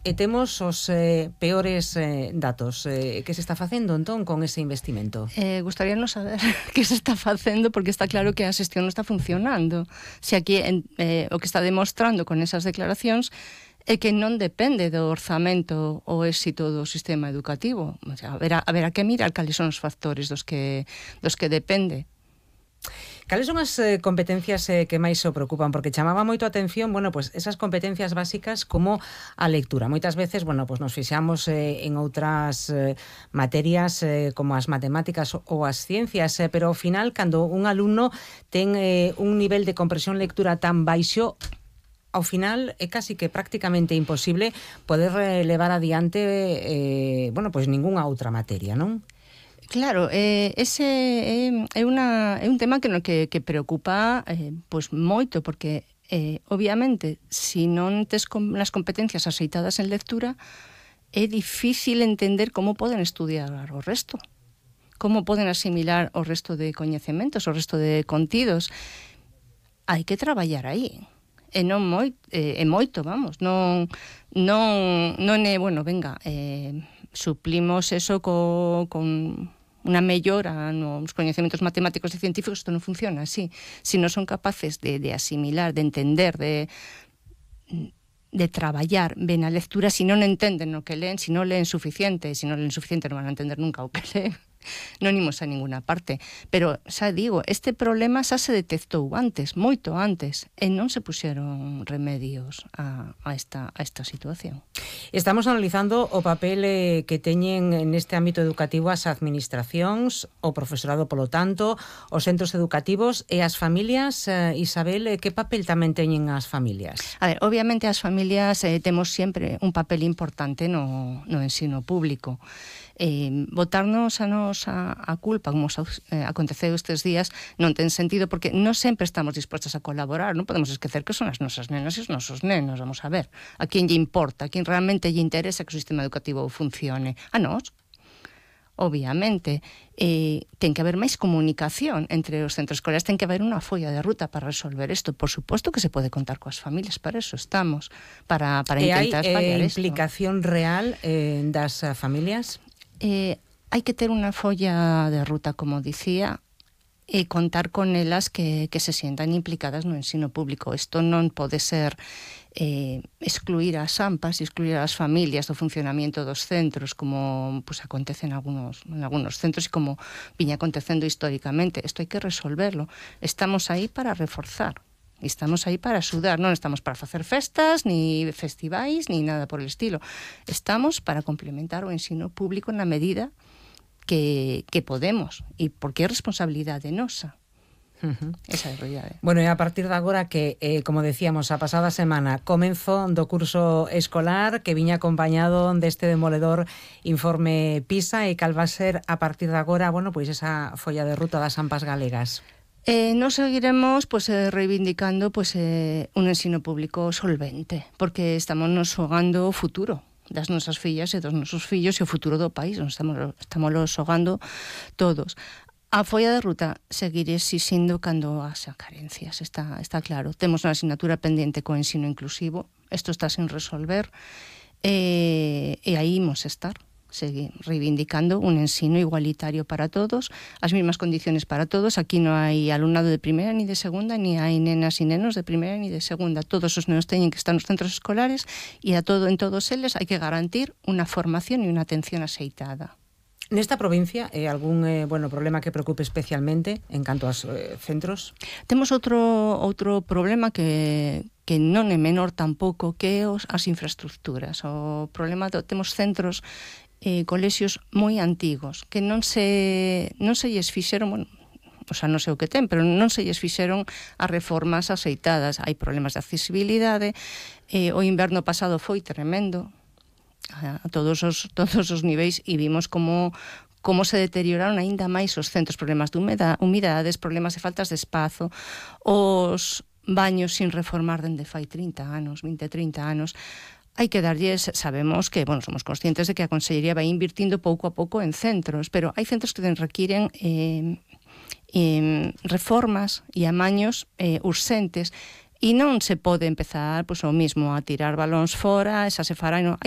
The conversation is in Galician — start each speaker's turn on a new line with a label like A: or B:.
A: e temos os peores datos. Que se está facendo entón con ese investimento?
B: Gustaríanos saber que se está facendo, porque está claro que a xestión non está funcionando. Se aquí o que está demostrando con esas declaracións é que non depende do orzamento o éxito do sistema educativo. O sea, haberá que mirar cales son os factores dos que depende.
A: Cales son as competencias que máis o preocupan? Porque chamaba moito a atención, bueno, pues esas competencias básicas como a lectura. Moitas veces, bueno, pues nos fixamos en outras materias como as matemáticas ou as ciencias, pero ao final, cando un alumno ten un nivel de comprensión lectura tan baixo, ao final é casi que prácticamente imposible poder levar adiante bueno, pois ningunha outra materia, non?
B: Claro, ese é un tema que preocupa pois moito, porque obviamente, se non tes as competencias axeitadas en lectura, é difícil entender como poden estudiar o resto, como poden asimilar o resto de coñecementos, o resto de contidos. Hai que traballar aí. E non moito, vamos, non é, bueno, venga, suplimos eso con unha mellora nos coñecementos matemáticos e científicos. Isto non funciona así. Se non son capaces de asimilar, de entender, de traballar ben a lectura, se non entenden o que leen, se non leen suficiente non van a entender nunca o que leen, non imos a ninguna parte. Pero, xa digo, este problema xa se detectou antes, moito antes, e non se puxeron remedios a esta situación.
A: Estamos analizando o papel que teñen neste ámbito educativo as administracións, o profesorado polo tanto, os centros educativos e as familias. Isabel, que papel tamén teñen as familias?
B: A ver, obviamente as familias temos sempre un papel importante no ensino público. Botarnos a nos a culpa, como aconteceu estes días, non ten sentido, porque non sempre estamos dispostos a colaborar. Non podemos esquecer que son as nosas nenas e os nosos nenos. Vamos a ver, a quen lle importa, a quen realmente lle interesa que o sistema educativo funcione. A nós, obviamente, ten que haber máis comunicación entre os centros escolares, ten que haber unha folla de ruta para resolver isto. Por suposto que se pode contar coas familias, para eso estamos, para intentar fallar isto.
A: E hai implicación real das familias?
B: Hai que ter unha folla de ruta, como dicía, e contar con elas que se sientan implicadas no ensino público. Isto non pode ser excluir as AMPAs e excluir as familias do funcionamento dos centros, como pues, acontece en algunos centros e como viña acontecendo históricamente. Isto hai que resolverlo. Estamos aí para reforzar. Estamos aí para axudar, non estamos para facer festas, ni festivais, ni nada por el estilo. Estamos para complementar o ensino público na medida que podemos, e porque é responsabilidade nosa. Esa é a realidade.
A: Bueno, e a partir de agora que, como decíamos, a pasada semana comenzo do curso escolar que viña acompañado deste demoledor informe PISA, e cal va ser a partir de agora, bueno, pois esa folla de ruta das AMPAs galegas?
B: Nos seguiremos reivindicando un ensino público solvente, porque estamos nos xogando o futuro das nosas fillas e dos nosos fillos e o futuro do país. Estamos xogando todos. A folla de ruta seguirá exixindo cando haxa carencias, está claro. Temos unha asignatura pendiente co ensino inclusivo, isto está sin resolver, e aí imos estar. Seguir reivindicando un ensino igualitario para todos, as mesmas condiciones para todos. Aquí non hai alumnado de primeira ni de segunda, ni hai nenas e nenos de primeira ni de segunda. Todos os nenos teñen que estar nos centros escolares e en todos eles hai que garantir unha formación e unha atención axeitada.
A: Nesta provincia, algún problema que preocupe especialmente en canto aos centros?
B: Temos outro problema que non é menor tampouco, que é as infraestructuras. O problema temos centros colexios moi antigos que non se lles fixeron, bueno, o sea, non sei o que ten, pero non se lles fixeron as reformas axeitadas. Hai problemas de accesibilidade. O inverno pasado foi tremendo a todos os niveis, e vimos como se deterioraron aínda máis os centros, problemas de humidades, problemas de faltas de espazo, os baños sin reformar dende fai 30 anos, 20-30 anos. Hai que darlles, sabemos que, bueno, somos conscientes de que a Consellería vai invirtindo pouco a pouco en centros, pero hai centros que requiren reformas e amaños urxentes, e non se pode empezar o mismo a tirar balóns fora, esa se fará, non, hai